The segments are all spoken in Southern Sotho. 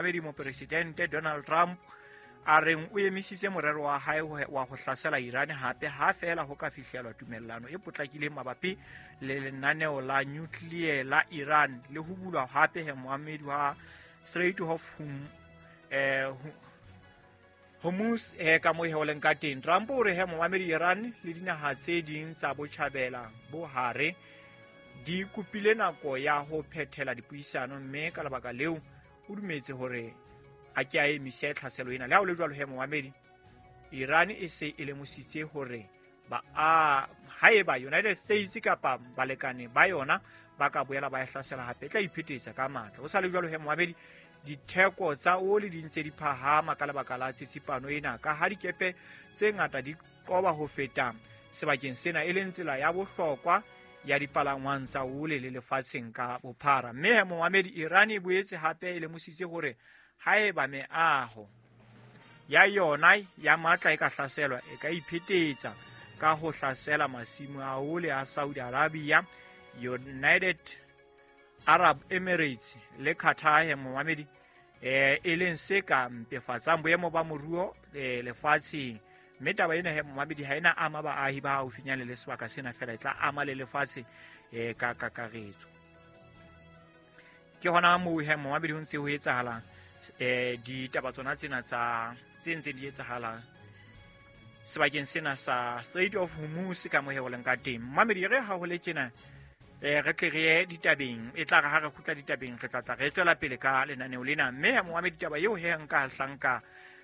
Momamedi Mopresidente Donald Trump a reng o emisitse morero wa hae wa ho hlasela Iran hape ha feela ho ka fihlelwa tumellano e potlakileng mabapi le lenaneo la nuclear la Iran le ho bulwa hape he moamedi wa Strait of Hormuz ka moo he leng ka teng. Trump o re he momamedi Iran le dinaha tse ding tsa botjhabela bo hare di kopile nako ya ho phethela dipuisano, mme ka lebaka leo o dumetse hore a ke a emise tlhaselo ena. Le ha ho le jwalo he momamedi, Iran e se e lemositse hore ba a haeba United States kapa balekane ba yona ba ka boela ba e hlasela hape, e tla iphetetsa ka matla. Ho sa le jwalo he momamedi, ditheko tsa oli di ntse di phahama ka lebaka la tsitsipano ena, ka ha dikepe tse ngata di qoba ho feta sebakeng sena, e leng tsela ya bohlokwa ya dipalangwang tsa ole le lefatsheng ka bophara. Mme he momamedi, Iran e boetse hape e lemositse hore haeba meaho ya yona ya matla e ka hlaselwa, e ka iphetetsa ka ho hlasela masimo a ole a Saudi Arabia, United Arab Emirates le Qatar he momamedi, e leng se ka mpefatsang boemo ba moruo lefatsheng. Mme taba ena he momamedi ha ena ama baahi ba haufinyane le sebaka sena fela, e tla ama le lefatshe ka kakaretso. Ke hona moo he momamedi ho ntse ho etsahalang ditaba tsona tsena tsa tse ntseng di etsahala sebakeng sena sa Strait of Hormuz ka moo he ho leng ka teng. Momamedi, re ha ho le tjena re tle re ye ditabeng, e tla re ha re kgutla ditabeng re tla tla re tswela pele ka lenaneo lena. Mme he momamedi, taba eo he nka hlanka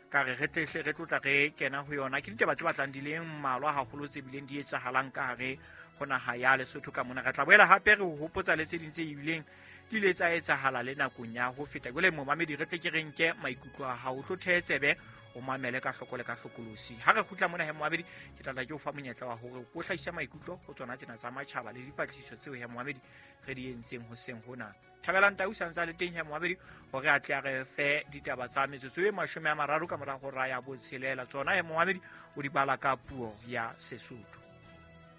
ka re re tle re tlotla re kena ho yona ke ditaba tse batlang di leng mmalwa haholo tse bileng di etsahalang ka hare ho naha ya Lesotho ka mona. Re tla boela hape re ho hopotsa le tse ding tse ebileng di ile tsa etsahala le nakong ya ho feta. Jwale momamedi, re tle ke re nke maikutlo a hao, o tlo thehe tsebe, o mamele ka hloko le ka hlokolosi. Ha re kgutla mona he momamedi, ke tla tla ke o fa monyetla wa hore o hlahise maikutlo ho tsona tsena tsa matjhaba le dipatlisiso tseo he momamedi re di entseng hoseng hona. Thabelang Tau sa ntse a le teng he momamedi hore a tle a re fe ditaba tsa metsotso e 30 ka mora hora ya 6. Tsona he momamedi o di bala ka puo ya Sesotho.